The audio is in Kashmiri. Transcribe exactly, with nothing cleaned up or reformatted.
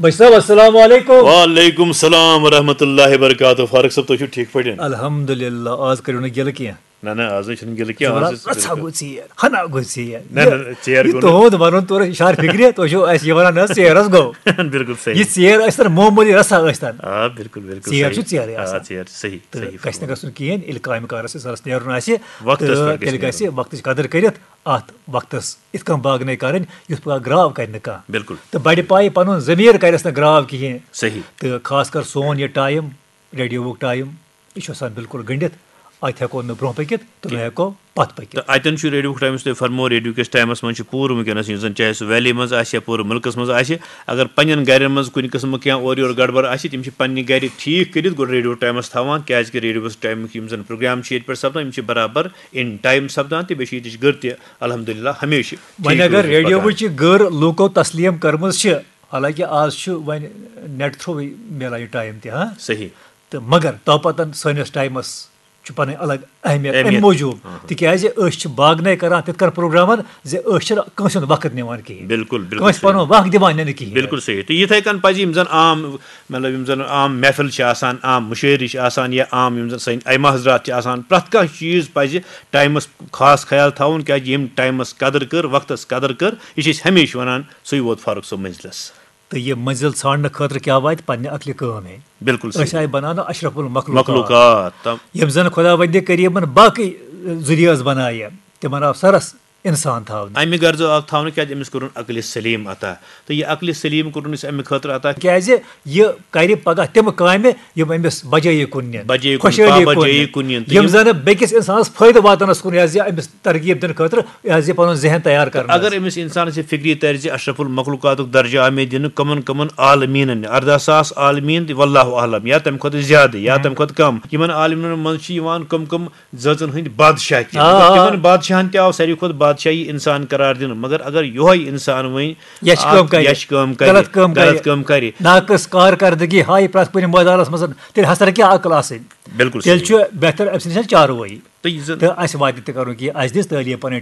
بچ صٲب، السلام علیکم۔ وعلیکم السلام ورحمۃ اللہ وبرکاتہ۔ فاروق صٲب، تُہۍ چھِو ٹھیٖک پٲٹھۍ؟ الحمدللہ، آز کٔرِو نہٕ گِلہٕ کینٛہہ۔ نہ نہ، آز نَے چھُنہٕ گِلہٕ کینٛہہ۔ آز زبردست، چھِ رژھا گوٚو ژیر، ہنا گوٚو ژیر۔ نہ، نہ، نہ، ژیر یہِ گوٚو نہٕ۔ تُہُنٛد وَنُن تورٕ اِشارٕ فِکرِ، تُہۍ چھِو اَسہِ یہِ وَنان، نہ، ژیر حظ گوٚو۔ یہِ ژیر ٲسۍ تَن معموٗلی رژھا ٲسۍ تَن۔ آ، بِلکُل، بِلکُل ژیر صحیح۔ چھُ ژیرٕے آ، آسان۔ ژیر چھِ صحیح، تہٕ صحیح، گژھِ نہٕ صحیح۔ گژھُن کِہیٖنۍ، ییٚلہِ کامہِ کارَس سۭتۍ سَرَس نیرُن آسہِ، وقتَس تہٕ پٮ۪ٹھ گژھِ تیٚلہِ گژھِ نیرُن۔ وقتٕچ قدٕر کٔرِتھ اَتھ وقتَس یِتھ کٔنۍ باغ نَے کَرٕنۍ، یُتھ پَگاہ گرٛاو کَرِ نہٕ کانٛہہ۔ بِلکُل۔ تہٕ بَڑِ پایہِ پَنُن ضمیٖر کَرٮ۪س نہٕ گرٛاو کِہیٖنۍ۔ صحیح۔ تہٕ خاص کر سون یہِ ٹایم، ریڈیووُک ٹایم، یہِ چھُ آسان بِلکُل گٔنڈِتھ۔ اَتہِ ہٮ۪کو نہٕ برٛونٛہہ پٔکِتھ تہٕ نہ ہٮ۪کو پَتھ پٔکِتھ۔ تہٕ اَتٮ۪ن چھُ ریڈیووُک ٹایم، یُس تۄہہِ فرمو، ریڈیو کِس ٹایمَس منٛز چھُ پوٗرٕ وٕنکیٚنَس، یُس زَن چاہے سُہ ویلی منٛز آسہِ یا پوٗرٕ مُلکَس منٛز آسہِ، اگر پنٛنٮ۪ن گَرٮ۪ن منٛز کُنہِ قٕسمہٕ کینٛہہ اورٕ یورٕ گڑبڑ آسہِ، تِم چھِ پنٛنہِ گَرِ ٹھیٖک کٔرِتھ گۄڈٕ ریڈیو ٹایمَس تھاوان، کیٛازِکہِ ریڈیووَس ٹایمٕکۍ یِم زَن پروگرام چھِ ییٚتہِ پٮ۪ٹھ سَپدان، یِم چھِ برابر اِن ٹایم سَپدان، تہٕ بیٚیہِ چھِ ییٚتِچ گٔر تہِ الحمدللہ ہمیشہِ وۄنۍ ٹھیٖک اگر روزنٕچ پَتہ۔ ریڈیووٕچ یہِ گٔر لوٗکو تسلیم کٔرمٕژ چھِ، حالانکہ آز چھُ وۄنۍ نیٹ تھرٛوٗوٕے میلان یہِ ٹایم تہِ، ہاں؟ صحیح۔ تہٕ مگر توپتن سٲنِس ٹایمس چھُ پنٕنۍ الگ اہمیت امہِ اہمیت۔ موٗجوٗب، تِکیازِ أسۍ چھِ باگنے کران تِتھ کٔنۍ پروگرامن زِ أسۍ چھِنہٕ کٲنٛسہِ ہُنٛد وقت نِوان کِہیٖنۍ۔ بِلکُل، بِلکُل کٲنٛسہِ صحیح۔ پنُن وقت دِوان نہٕ کِہیٖنۍ۔ بِلکُل صحیح۔ تہٕ یِتھَے کٔنۍ پَزِ یِم زَن عام، مطلب، یِم زَن عام محفل چھِ آسان، عام مُشٲعرٕ چھِ آسان یا عام یِم زَن سٲنۍ اَمہِ حضرات چھِ آسان، پرٛٮ۪تھ کانٛہہ چیٖز پَزِ ٹایمَس خاص خیال تھاوُن، کیٛازِ ییٚمۍ ٹایمَس قدٕر کٔر، وقتَس قدٕر کٔر، یہِ چھِ أسۍ ہمیشہِ وَنان، سُے ووت فاروق صٲب منزلَس۔ تہٕ یہِ منزل ژھانڈنہٕ خٲطرٕ کیٛاہ واتہِ؟ پننہِ عقلہِ کٲم ہے۔ بِلکُل صحیح۔ أسۍ آیہِ بناونہٕ اشرف المخلوقات۔ مخلوقات، تم- یِم زن خداوندِ کریمن باقٕے ذُریعہٕ ٲس بنایہِ، تِمن آو سرس انسان تھاونہٕ۔ امہِ غرضہٕ آو تھاونہٕ، کیٛازِ أمِس کوٚرُن عقلِ سلیم عطا۔ تہٕ یہِ عقلِ سلیم کوٚرُن أسۍ امہِ خٲطرٕ عطا۔ کیٛازِ یہِ کرِ پگاہ تِم کامہِ یِم أمِس بجٲیی کُن نِن، بجٲیی کُن، خۄشحٲلی پابجٲیی کُن نِن۔ کُن نِن۔ تہٕ یِم یِم زن بیٚکِس انسانس فٲیدٕ واتنس کُن، یہِ حظ یہِ أمِس ترغیب دِنہٕ خٲطرٕ، یہِ حظ یہِ پنُن ذہن تیار کرنس۔ اگر أمِس انسانس یہِ فکری طرزِ اشرف المخلوقاتُک درجہٕ آو مےٚ دِنہٕ، کمن کمن عالمیٖنن، ارداہ ساس عالمیٖن تہِ واللہ اعلم، یا تمہِ کھۄتہٕ زیادٕ یا تمہِ کھۄتہٕ کم، یِمن عالمیٖنن منٛز چھِ یِوان کم کم زٲژن ہٕنٛدۍ بادشاہ تہِ۔ آ، آ۔ تِمن بادشاہن تہِ آو ساروی کھۄتہٕ بادشاہی انسان قرار دِنہٕ، مگر اگر یۄہے انسان وۄنۍ یچھ اکھ کٲم کرِ، یچھ کٲم کرِ، غلط کٲم کرِ، غلط کٲم کرِ۔ ناقص کارکردگی ہایہِ پرٛٮ۪تھ کُنہِ مٲدانس منٛز، تیٚلہِ ہسا کیٛاہ عقل آسٕنۍ؟ بِلکُل تیٚلہِ صحیح۔ چھُ بہتر أمۍ سٕنٛدِ سۭتۍ چاروٲیی۔ تہٕ یہِ زن تہٕ اَسہِ واتہِ تہِ کرُن کہِ اَسہِ دِژ تعلیٖم پنٕنۍ